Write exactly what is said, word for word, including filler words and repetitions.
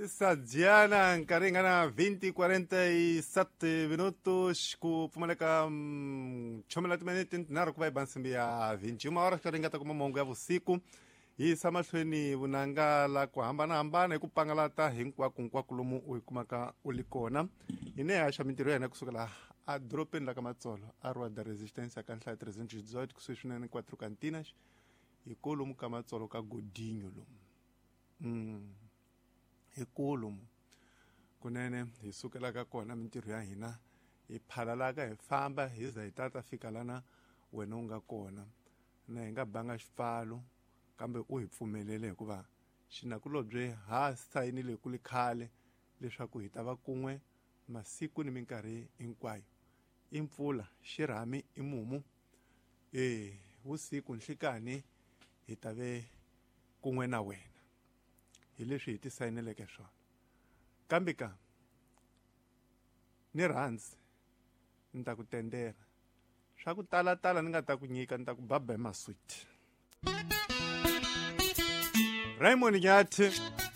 Sadiana nkarhi nga na vinte quarenta e sete minutos ku pfumaleka chomela timinete tinharhu ku va yi ba nsimbi ya vinte e uma hora xi ringeta kuma mongo ya vusiku hi yisa mahlweni vunanga la ku hambanahambana hi ku pangalata hinkwakonkwako lomu u yi kumaka u li kona hi ne haxa mintirho ya hina kusukela a dorobeni la ka Matsolo a Rua da Resistência ka nhlayo trezentos e dezoito kusuhi swinene quatro Cantinas hi kolomu ka Matsolo ka Godinho lomu mm. Hi kolomu kunene hi sukelaka kona mintirho ya hina hi phalalaka hi famba hi za hi tata fika lana wena u nga kona na hi nga banga xipfalo kambe u hi pfumelele hikuva xinakulobye ha sayinile ku li khale leswaku hi ta va kun'we masiku ni minkarhi hinkwayo i mpfula xirhami i mumu e vusiku nhlikani hi ta ve kun'we na wena hi leswi hi ti sayineleke swona kambe ka ni rhandzi ni ta ku tendela swa ku talatala ni nga ta ku nyika ni ta ku baba hi maswiti Raymond Nyathi.